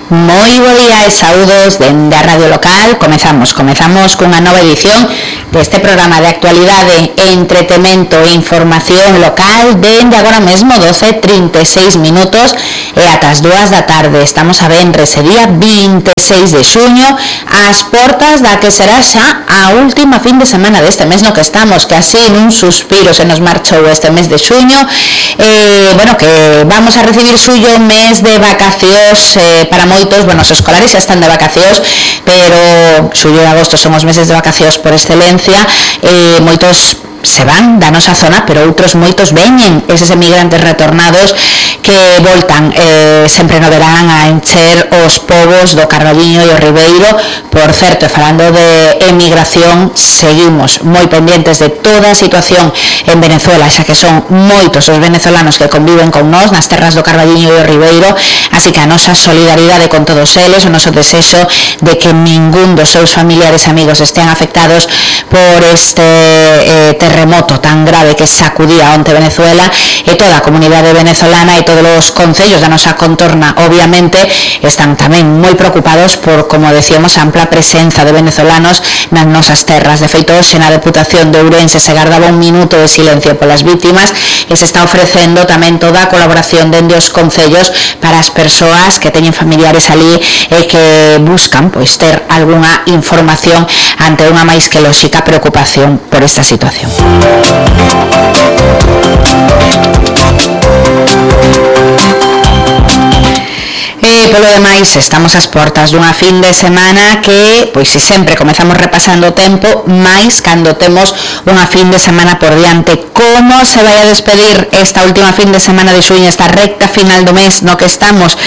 Moi bo día e saúdos dende a Radio Local. Comezamos cunha nova edición deste programa de actualidade, entretemento e información local dende agora mesmo 12:36 minutos e ata as 2 da tarde. Estamos a venres, día 26 de xuño, ás portas da que será xa a última fin de semana deste mes no que estamos, que así nun suspiro se nos marchou este mes de xuño. Que vamos a recibir xullo, mes de vacacións para moitos. Os escolares xa están de vacacións, pero xullo e agosto son os meses de vacacións por excelencia. Moitos se van da nosa zona, pero outros moitos veñen, eses emigrantes retornados que voltan sempre no verán a encher os povos do Carballiño e o Ribeiro. Por certo, falando de emigración, seguimos moi pendientes de toda a situación en Venezuela, xa que son moitos os venezolanos que conviven con nós nas terras do Carballiño e o Ribeiro, así que a nosa solidaridade con todos eles, o noso desexo de que ningún dos seus familiares e amigos estean afectados por este terremoto tan grave que sacudía onte Venezuela, e toda a comunidade venezolana e todos os concellos da nosa contorna obviamente están tamén moi preocupados por, como decíamos, a ampla presenza de venezolanos nas nosas terras. De feito, hoxe na Deputación de Ourense se gardaba un minuto de silencio polas vítimas e se está ofrecendo tamén toda a colaboración dende os concellos para as persoas que teñen familiares ali e que buscan ter algunha información ante unha máis que lóxica preocupación por esta situación. Polo demais, estamos ás portas dunha fin de semana que, se sempre comezamos repasando o tempo, máis cando temos unha fin de semana por diante. Como se vai a despedir esta última fin de semana de xuño, esta recta final do mes no que estamos?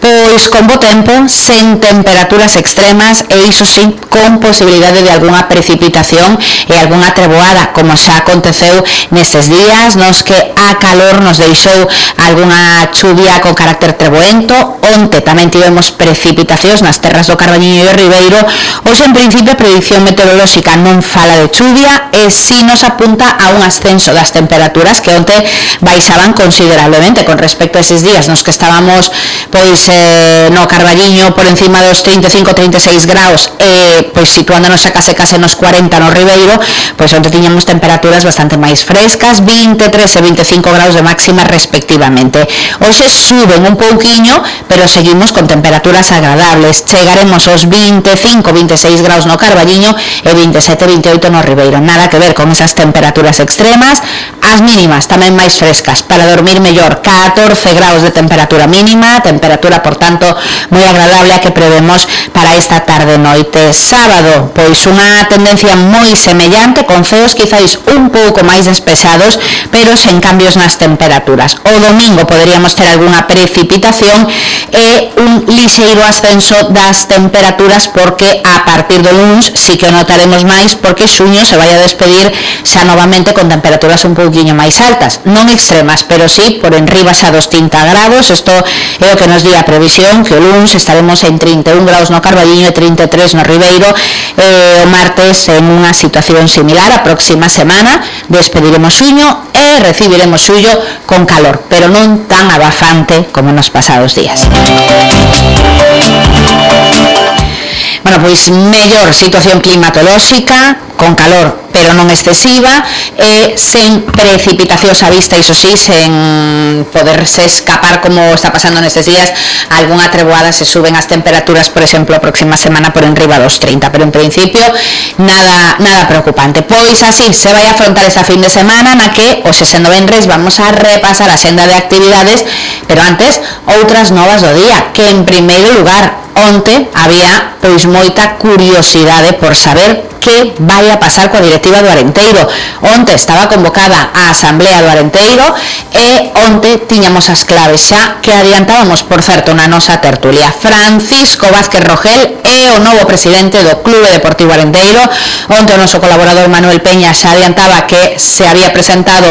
Pois con bo tempo, sen temperaturas extremas e iso sí, con posibilidade de algunha precipitación e algunha treboada, como xa aconteceu nestes días nos que a calor nos deixou algunha chuvia con carácter treboento. Onte tamén tivemos precipitacións nas terras do Carballiño e o Ribeiro. Hoxe, en principio, a predicción meteorolóxica non fala de chuvia e si nos apunta a un ascenso das temperaturas que onte baixaban considerablemente con respecto a eses días nos que estábamos no Carballiño por encima dos 35-36 graus e situándonos a case nos 40 no Ribeiro. Onte tiñamos temperaturas bastante máis frescas, 23 e 25 graus de máxima respectivamente. Hoxe suben un pouquiño, pero seguimos con temperaturas agradables. Chegaremos aos 25-26 graus no Carballiño e 27-28 no Ribeiro. Nada que ver con esas temperaturas extremas. As mínimas tamén máis frescas, para dormir mellor, 14 graus de temperatura mínima, temperatura, por tanto, moi agradable a que prevemos para esta tarde noite. Sábado, unha tendencia moi semellante, con ceos quizáis un pouco máis despejados, pero sen cambios nas temperaturas. O domingo poderíamos ter algunha precipitación e un lixeiro ascenso das temperaturas, porque a partir do luns sí que o notaremos máis, porque xuño se vai a despedir xa novamente con temperaturas un pouquiño máis altas, non extremas, pero sí por enriba xa dos 30 grados. Isto é o que nos di a previsión, que o luns estaremos en 31 graus no Carballiño e 33 no Ribeiro. O martes en unha situación similar. A próxima semana despediremos xuño e recibiremos xullo con calor, pero non tan abafante como nos pasados días. Mellor situación climatolóxica, con calor pero non excesiva e sen precipitacións á vista, iso sí, sen poderse escapar, como está pasando nestes días, algunha treboada se suben as temperaturas, por exemplo, a próxima semana por enriba dos 30, pero en principio nada preocupante. Así se vai a afrontar esta fin de semana na que, hoxe sendo venres, vamos a repasar a xenda de actividades, pero antes, outras novas do día, que en primeiro lugar, onte había moita curiosidade por saber que vai a pasar coa directiva do Arenteiro. Onte estaba convocada a Asamblea do Arenteiro e onte tiñamos as claves xa que adiantábamos, por certo, na nosa tertulia. Francisco Vázquez Rogel é o novo presidente do Clube Deportivo Arenteiro. Onte o noso colaborador Manuel Peña xa adiantaba que se había presentado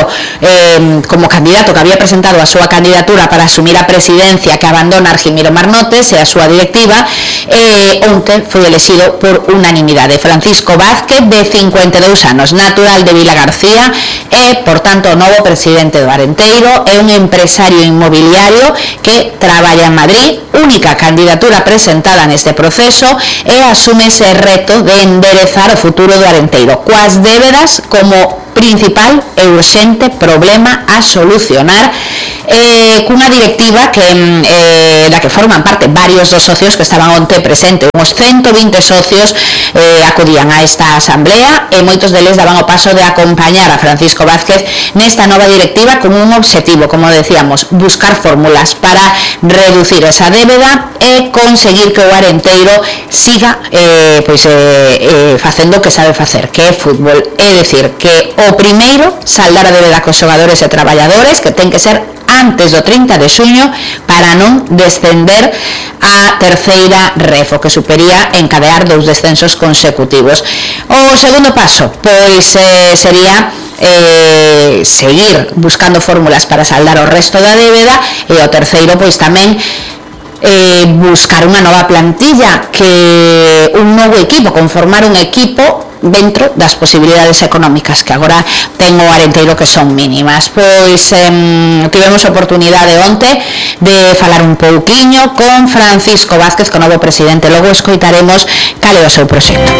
como candidato, que había presentado a súa candidatura para asumir a presidencia que abandona Argimiro Marnotes e a súa directiva, temporada, onte foi elexido por unanimidade. Francisco Vázquez, de 52 anos, natural de Vilagarcía, é, por tanto, o novo presidente do Arenteiro. É un empresario inmobiliario que traballa en Madrid, única candidatura presentada neste proceso, e asume ese reto de enderezar o futuro do Arenteiro, coas débedas como principal e urxente problema a solucionar, cunha directiva que da que forman parte varios dos socios que estaban onte presente. Uns 120 socios acudían a esta asamblea e moitos deles daban o paso de acompañar a Francisco Vázquez nesta nova directiva con un obxectivo, como decíamos, buscar fórmulas para reducir esa débeda e conseguir que o Arenteiro siga facendo o que sabe facer, que é fútbol. É dicir, que o primeiro, saldar a débeda cos xogadores e traballadores, que ten que ser antes do 30 de xuño para non descender a terceira refo, que supería encadear 2 descensos consecutivos. O segundo paso, pois sería seguir buscando fórmulas para saldar o resto da débeda, e o terceiro, pois tamén buscar unha nova plantilla, que un novo equipo, conformar un equipo dentro das posibilidades económicas que agora ten o Arenteiro, que son mínimas. Pois tivemos oportunidade onte de falar un pouquiño con Francisco Vázquez, co novo presidente. Logo escoitaremos cal é o seu proxecto.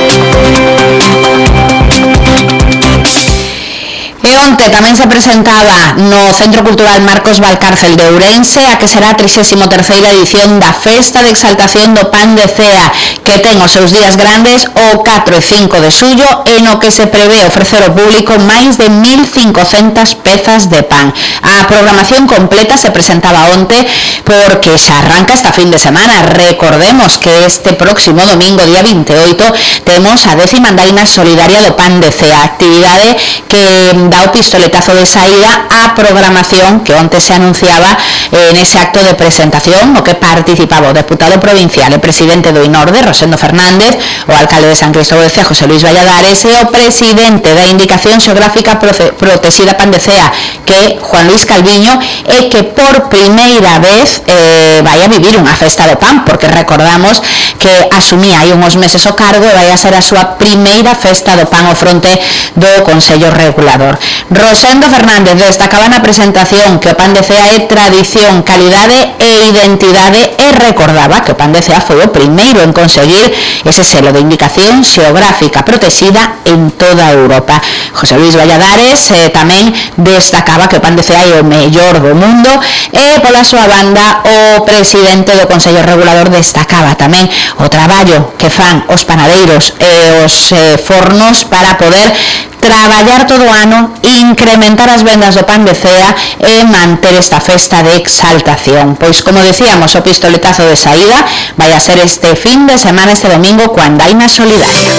E onte tamén se presentaba no Centro Cultural Marcos Valcárcel de Ourense a que será a 33ª edición da Festa de Exaltación do Pan de Cea, que ten os seus días grandes o 4 e 5 de xullo, e no que se prevé ofrecer ao público máis de 1.500 pezas de pan. A programación completa se presentaba onte porque xa arranca esta fin de semana. Recordemos que este próximo domingo, día 28, temos a 10ª andaina solidaria do Pan de Cea, actividade que dá o pistoletazo de saída á programación que onte se anunciaba nese acto de presentación, no que participaba o deputado provincial e presidente do INORDE, Rosendo Fernández, o alcalde de San Cristóbal de Cea, José Luis Valladares, e o presidente da Indicación Xeográfica Protexida Pan de Cea, que é Juan Luis Calviño, e que por primeira vez vai a vivir unha festa do pan, porque recordamos que asumía hai uns meses o cargo e vai a ser a súa primeira festa do pan ao fronte do Consello Regulador. Rosendo Fernández destacaba na presentación que o Pan de Cea é tradición, calidade e identidade, e recordaba que o Pan de Cea foi o primeiro en conseguir ese selo de indicación xeográfica protexida en toda Europa. José Luis Valladares tamén destacaba que o Pan de Cea é o mellor do mundo, e pola súa banda o presidente do Consello Regulador destacaba tamén o traballo que fan os panadeiros e os fornos para poder traballar todo o ano, incrementar as vendas do Pan de Cea e manter esta festa de exaltación. Pois, como decíamos, o pistoletazo de saída vai a ser este fin de semana, este domingo, coa andaina solidaria.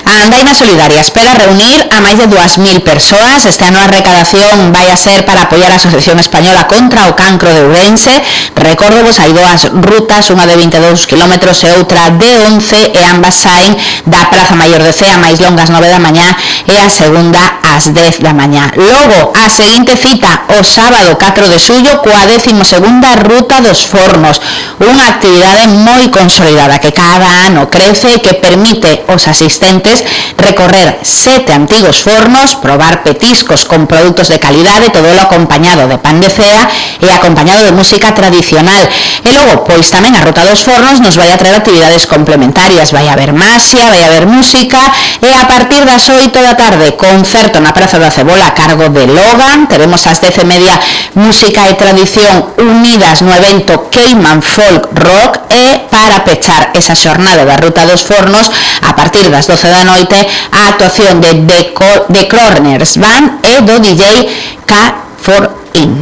A andaina solidaria espera reunir a máis de 2.000 persoas. Este ano a recadación vai a ser para apoiar a Asociación Española contra o Cancro de Ourense. Recordovos, hai 2 rutas, unha de 22 km e outra de 11, e ambas saen da Praza Maior de Cea, máis longas 9 da mañá, e a segunda ás 10 da mañá. Logo, a seguinte cita o sábado 4 de xullo coa 12ª Ruta dos Fornos, unha actividade moi consolidada que cada ano crece e que permite aos asistentes recorrer 7 antigos fornos, probar petiscos con produtos de calidade, todo lo acompañado de pan de cea e acompañado de música tradicional. E logo, pois tamén a Ruta dos Fornos nos vai a traer actividades complementarias, vai a haber maxia, vai a haber música, e a partir das 8 da tarde, concerto na Praza da Cebola a cargo de Logan. Teremos ás 10:30 música e tradición unidas no evento Cayman Folk Rock, e para pechar esa xornada da Ruta dos Fornos, a partir das 12 da noite, a actuación de The Corners Band e do DJ K4In.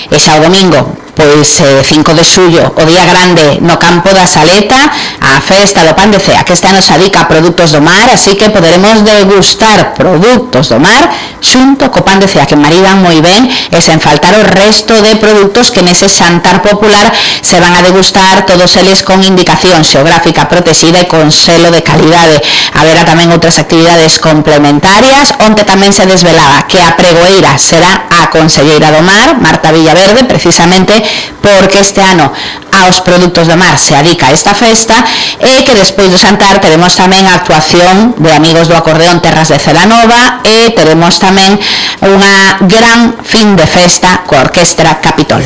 E xa o domingo, pois 5 de xullo, o día grande no campo da Saleta, a festa do pan de cea, que este ano se adica a produtos do mar, así que poderemos degustar produtos do mar xunto co pan de cea, que maridan moi ben, e sen faltar o resto de produtos que nese xantar popular se van a degustar, todos eles con indicación xeográfica protexida e con selo de calidade. Haberá tamén outras actividades complementarias, onde tamén se desvelaba que a pregoeira será a conselleira do mar, Marta Villaverde, precisamente porque este ano aos produtos do mar se adica a esta festa, e que despois do xantar teremos tamén a actuación de amigos do acordeón Terras de Celanova, e teremos tamén unha gran fin de festa coa Orquestra Capitol.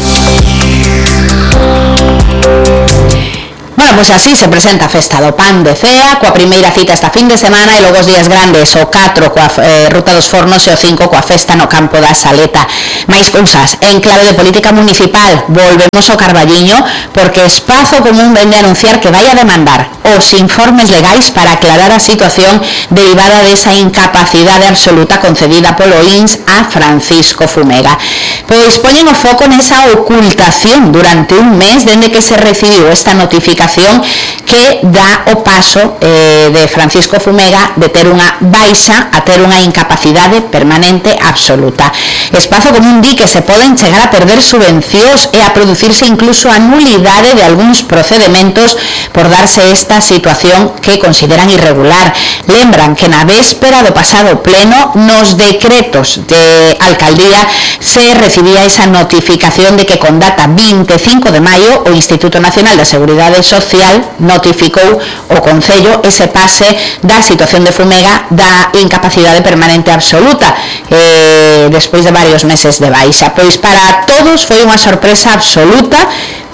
Bueno, pois así se presenta a festa do pan de cea, coa primeira cita esta fin de semana, e logo os días grandes, o 4 coa Ruta dos Fornos e o 5 coa festa no campo da Saleta. Mais cousas, en clave de política municipal, volvemos ao Carballiño, porque Espazo Común vende a anunciar que vai a demandar os informes legais para aclarar a situación derivada desa incapacidade absoluta concedida polo INS a Francisco Fumega. Pois poñen o foco nesa ocultación durante un mes dende que se recibiu esta notificación que dá o paso de Francisco Fumega de ter unha baixa a ter unha incapacidade permanente absoluta. Espazo Común di que se poden chegar a perder subvencións e a producirse incluso a nulidade de algúns procedementos por darse esta situación que consideran irregular. Lembran que na véspera do pasado pleno nos decretos de alcaldía se recibía esa notificación de que con data 25 de maio o Instituto Nacional de Seguridade Social notificou o Concello ese pase da situación de Fumega da incapacidade permanente absoluta despois de varios meses de baixa. Pois para todos foi unha sorpresa absoluta,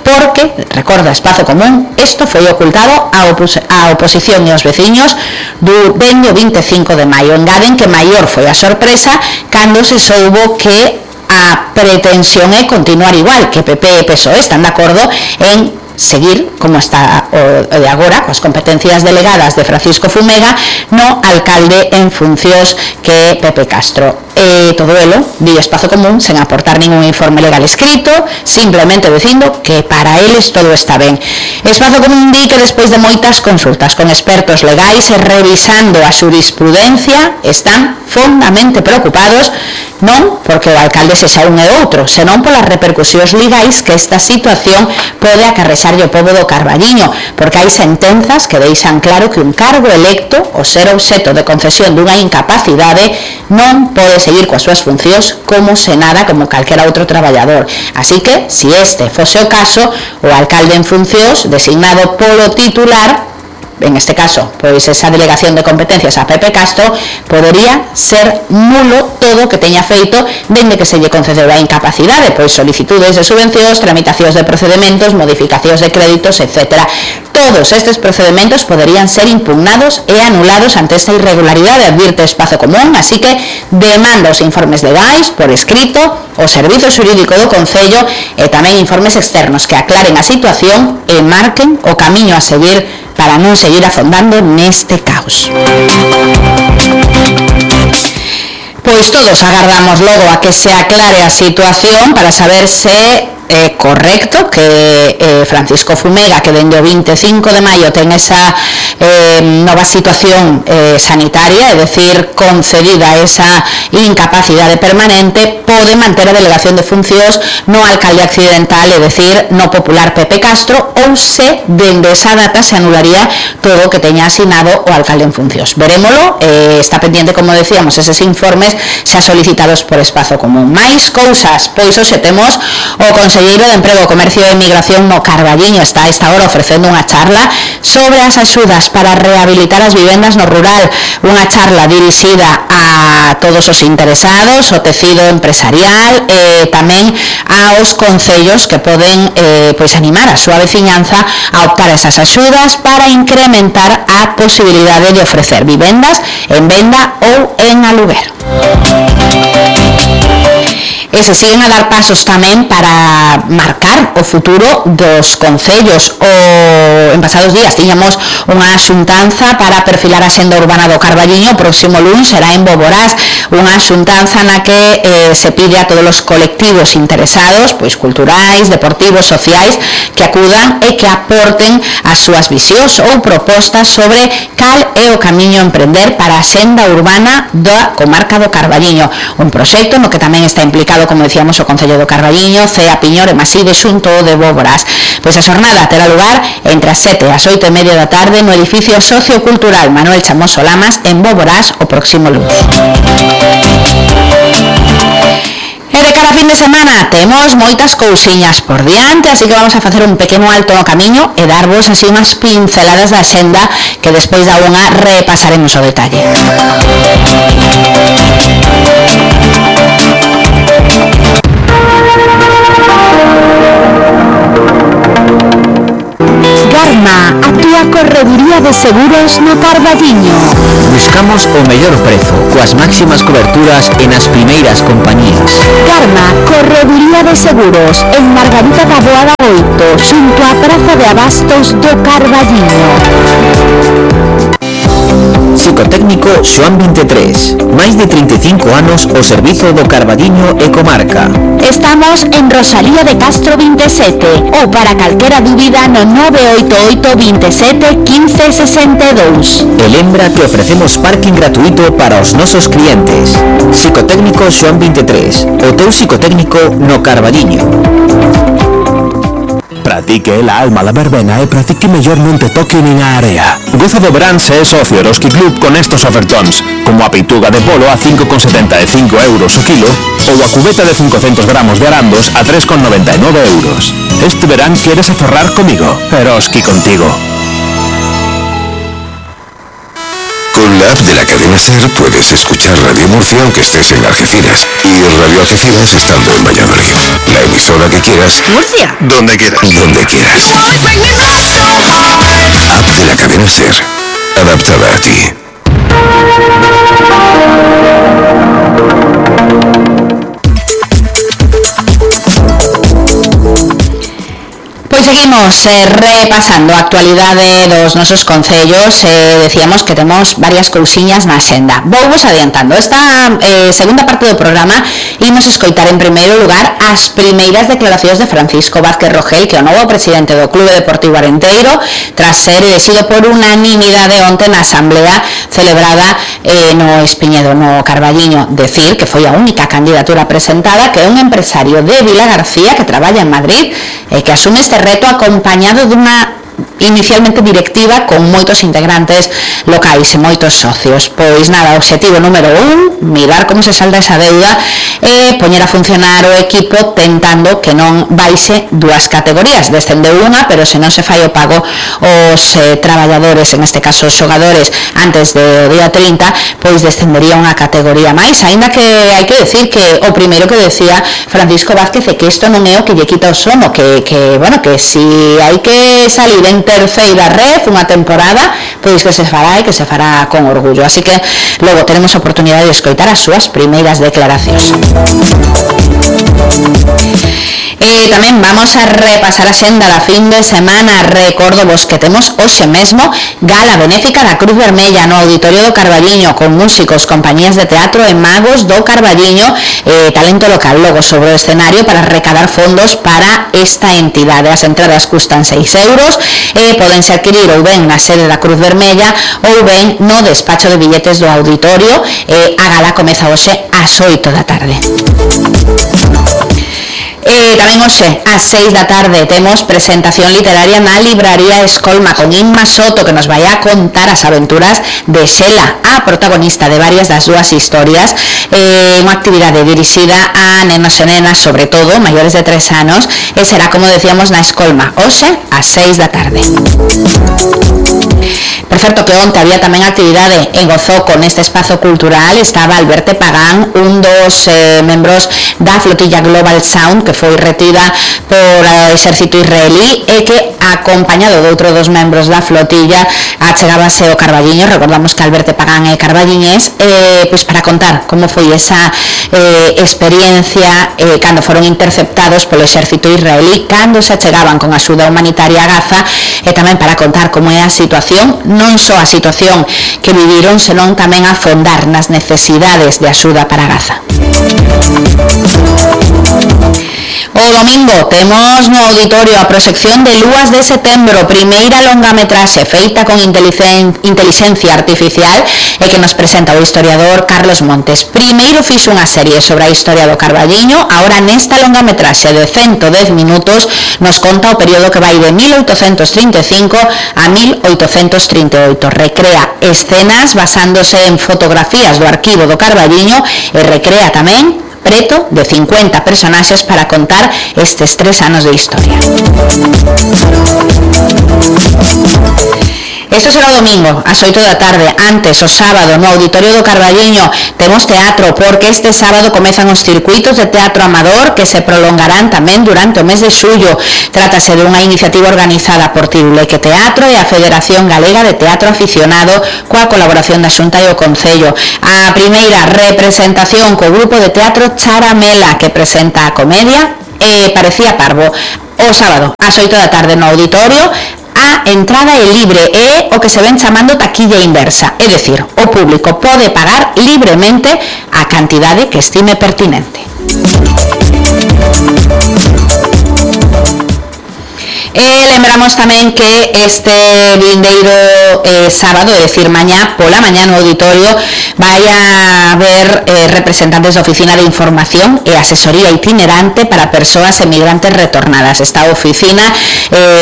porque, recorda Espazo Común, isto foi ocultado á oposición e aos veciños dende o 25 de maio. Engaden que maior foi a sorpresa cando se soubo que a pretensión é continuar igual, que PP e PSOE están de acordo en seguir como está o de agora, coas competencias delegadas de Francisco Fumega no alcalde en funcións que é Pepe Castro. Todo elo, di Espazo Común, sen aportar ningún informe legal escrito, simplemente dicindo que para eles todo está ben. Espazo Común di que despois de moitas consultas con expertos legais e revisando a xurisprudencia, están fondamente preocupados non porque o alcalde sexa un e outro, senón polas repercusións legais que esta situación pode acarrexarlle o pobo do Carballiño, porque hai sentenzas que deixan claro que un cargo electo, o ser obxeto de concesión dunha incapacidade, non pode seguir coas súas funcións como se nada como calquera outro traballador. Así que, se este fose o caso, o alcalde en funcións, designado polo titular, en este caso, pois esa delegación de competencias a Pepe Castro, podería ser nulo todo o que teña feito dende que se lle concedeu a incapacidade, pois solicitudes de subvencións, tramitacións de procedementos, modificacións de créditos, etc. Todos estes procedementos poderían ser impugnados e anulados ante esta irregularidade, advirte Espazo Común, así que demanda os informes legais por escrito, o Servizo Xurídico do Concello e tamén informes externos que aclaren a situación e marquen o camiño a seguir para non seguir afondando neste caos. Pois todos agardamos logo a que se aclare a situación para saber se é correcto que Francisco Fumega, que dende o 25 de maio ten esa nova situación sanitaria, é dicir, concedida esa incapacidade permanente, pode manter a delegación de funcións no alcalde accidental, é dicir, no popular Pepe Castro, ou se dende esa data se anularía todo o que teña asinado o alcalde en funcións. Verémolo, está pendiente, como decíamos, eses informes xa solicitados por Espazo Común. Mais cousas, pois hoxe temos o Conselleiro de Emprego, Comercio e Migración no Carballiño, está a esta hora ofrecendo unha charla sobre as axudas para rehabilitar as vivendas no rural, unha charla dirixida a todos os interesados, o tecido empresarial e tamén aos concellos que poden pois animar a súa veciñanza a optar a esas axudas para incrementar a posibilidade de ofrecer vivendas en venda ou en aluguer. E se siguen a dar pasos tamén para marcar o futuro dos concellos. En pasados días tiñamos unha xuntanza para perfilar a xenda urbana do Carballiño. O próximo luns será en Boborás, unha xuntanza na que se pide a todos os colectivos interesados, pois culturais, deportivos, sociais, que acudan e que aporten as súas visións ou propostas sobre cal é o camiño a emprender para a xenda urbana da comarca do Carballiño. Un proxecto no que tamén está implicado, como decíamos, o Concello do Carballiño, CEA Piñor e Maside xunto de Boborás. Pois a xornada terá lugar entre as 7 e as 8:30 da tarde no edificio sociocultural Manuel Chamoso Lamas en Boborás o próximo luns. E de cara a fin de semana temos moitas cousiñas por diante, así que vamos a facer un pequeno alto no camiño e darvos así unhas pinceladas da xenda que despois da unha repasaremos o detalle. Garma, a túa correduría de seguros no Carballiño. Buscamos o mellor prezo, coas máximas coberturas e nas primeiras compañías. Garma, correduría de seguros, en Margarita da Boada 8, xunto á Praza de Abastos do Carballiño. Psicotécnico Xoán 23, máis de 35 anos ao servizo do Carballiño e comarca. Estamos en Rosalía de Castro 27 ou para calquera dúbida no 988 27 15 62. E lembra que ofrecemos parking gratuito para os nosos clientes. Psicotécnico Xoán 23, o teu psicotécnico no Carballiño. Practique la alma la verbena e practique mellor non te toque nin a area. Goza do verán se é socio Eroski Club con estos ofertóns, como a peituga de polo a 5,75 euros o kilo ou a cubeta de 500 gramos de arandos a 3,99 euros. Este verán queres aforrar comigo. Eroski contigo. Con la app de la cadena SER puedes escuchar Radio Murcia aunque estés en Algeciras y Radio Algeciras estando en Valladolid. La emisora que quieras. Murcia. Donde quieras. Donde quieras. App de la cadena SER. Adaptada a ti. Pois seguimos repasando a actualidade dos nosos concellos. Decíamos que temos varias cousiñas na xenda. Vouvos adiantando. Esta segunda parte do programa imos escoitar en primeiro lugar as primeiras declaracións de Francisco Vázquez Rogel, que é o novo presidente do Clube Deportivo Arenteiro, tras ser elexido por unanimidade onte na asamblea celebrada no Espiñedo, no Carballiño. Decir que foi a única candidatura presentada, que é un empresario de Vilagarcía que traballa en Madrid e que asume este reto acompañado dunha inicialmente directiva con moitos integrantes locais e moitos socios. Pois nada, obxectivo número 1, mirar como se salda esa deuda e poñer a funcionar o equipo tentando que non baixe dúas categorías. Descendeu unha, pero se non se fai o pago os traballadores, en este caso os xogadores, antes do día 30, pois descendería unha categoría máis, aínda que hai que decir que o primeiro que decía Francisco Vázquez é que isto non é o que lle quita o sono, que bueno, que si hai que salir en terceira red unha temporada, pois que se fará e que se fará con orgullo. Así que logo teremos a oportunidade de escoitar as súas primeiras declaracións. Tamén vamos a repasar a xenda da fin de semana. Recordo vos que temos hoxe mesmo gala benéfica da Cruz Vermella no Auditorio do Carballiño, con músicos, compañías de teatro e magos do Carballiño, talento local logo sobre o escenario para recadar fondos para esta entidade. As entradas custan 6 euros e podense adquirir ou ben na sede da Cruz Vermella ou ben no despacho de billetes do auditorio. A gala comeza hoxe ás 8 da tarde. Tamén hoxe ás 6 da tarde temos presentación literaria na libraría Escolma con Inma Soto, que nos vai a contar as aventuras de Xela, a protagonista de varias das súas historias. Unha actividade dirixida a nenos e nenas, sobre todo maiores de 3 anos, e será, como decíamos, na Escolma hoxe ás 6 da tarde. Por certo, que onte había tamén actividade en Gozoco neste espazo cultural. Estaba Alberto Pagán, un dos membros da flotilla Global Sound, que foi retida por o exército israelí e que acompañado de outro dos membros da flotilla, achegábase o Carballiño. Recordamos que Alberto Pagán é carballiñés, pois para contar como foi esa experiencia cando foron interceptados polo exército israelí, cando se achegaban con axuda humanitaria a Gaza, e tamén para contar como é a situación, non só a situación que viviron, senón tamén a fondar nas necesidades de axuda para Gaza. O domingo temos no auditorio a proxección de Lúas de Setembro, primeira longametraxe feita con inteligencia artificial e que nos presenta o historiador Carlos Montes. Primeiro fixo unha serie sobre a historia do Carballiño, agora nesta longametraxe de 110 minutos nos conta o período que vai de 1835 a 1838. Recrea escenas basándose en fotografías do arquivo do Carballiño e recrea tamén preto de 50 personaxes para contar estes 3 anos de historia. Isto será o domingo, ás 8 da tarde. Antes, o sábado, no Auditorio do Carballiño, temos teatro, porque este sábado comezan os circuitos de teatro amador que se prolongarán tamén durante o mes de xullo. Trátase de unha iniciativa organizada por Tiruleque Teatro e a Federación Galega de Teatro Aficionado coa colaboración da Xunta e o Concello. A primeira representación co grupo de teatro Charamela, que presenta a comedia Parecía Parvo. O sábado, ás 8 da tarde no Auditorio. A entrada é libre, é o que se ven chamando taquilla inversa, é dicir, o público pode pagar libremente a cantidade que estime pertinente. Lembramos tamén que este vindeiro sábado, é dicir, mañá pola mañá no auditorio, vai a haber representantes da Oficina de Información e Asesoría Itinerante para Persoas Emigrantes Retornadas. Esta oficina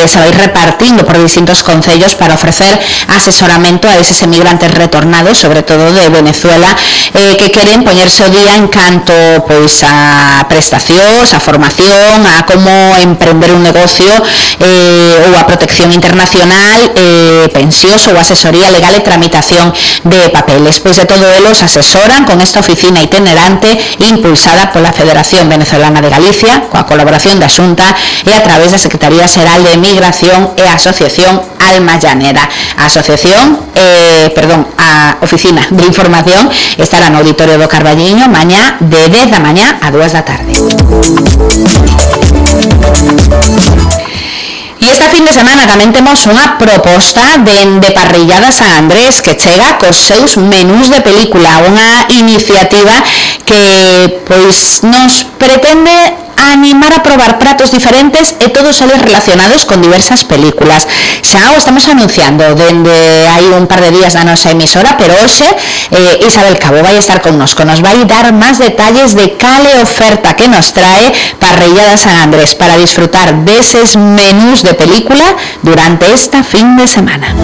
se vai repartindo por distintos concellos para ofrecer asesoramento a eses emigrantes retornados, sobre todo de Venezuela, que queren poñerse o día en canto pois a prestacións, a formación, a como emprender un negocio, ou a protección internacional, pensións ou asesoría legal e tramitación de papeles. Pois de todo elos asesoran con esta oficina itinerante impulsada pola Federación Venezolana de Galicia, coa colaboración da Xunta e a través da Secretaría Xeral de Migración e a Asociación Alma Llanera. A Oficina de Información estará no Auditorio do Carballiño mañá de 10 da mañá a 2 da tarde. E esta fin de semana tamén temos unha proposta de Parrillada San Andrés que chega cos seus menús de película, unha iniciativa que pois nos pretende animar a probar pratos diferentes e todos eles relacionados con diversas películas. Xa o estamos anunciando dende hai un par de días na nosa emisora, pero hoxe Isabel Cabo vai estar connosco, nos vai dar máis detalles de cale oferta que nos trae Parrillada San Andrés para disfrutar deses menús de película durante esta fin de semana.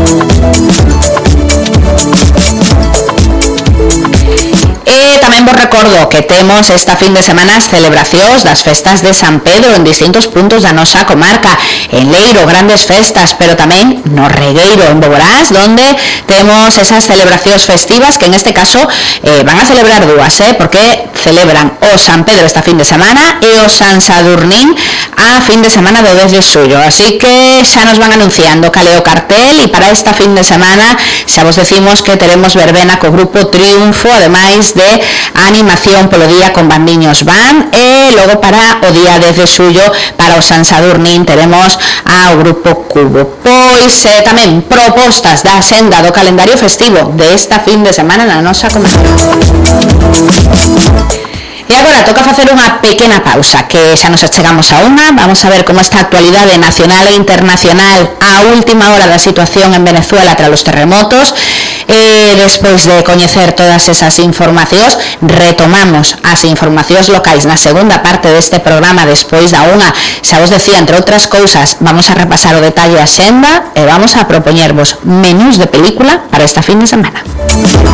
E tamén vos recordo que temos esta fin de semana as celebracións das festas de San Pedro en distintos puntos da nosa comarca. En Leiro, grandes festas, pero tamén no Regueiro, en Boborás, donde temos esas celebracións festivas que en este caso van a celebrar dúas, porque celebran o San Pedro esta fin de semana e o San Sadurnín a fin de semana do 10 de xullo. Así que xa nos van anunciando cal é o cartel, e para esta fin de semana xa vos decimos que teremos verbena co grupo Triunfo, ademais de animación polo día con Bandiños Van, e logo para o día 10 de xullo, para o San Sadurnín, teremos ao grupo Cubo. Pois tamén propostas da senda do calendario festivo de esta fin de semana na nosa comarca. E agora toca facer unha pequena pausa, que xa nos achegamos a unha. Vamos a ver como está a actualidade nacional e internacional a última hora da situación en Venezuela tras os terremotos. Despois de coñecer todas esas informacións, retomamos as informacións locais na segunda parte deste programa despois da unha. Xa vos decía, entre outras cousas, vamos a repasar o detalle a xenda e vamos a propoñervos menús de película para esta fin de semana.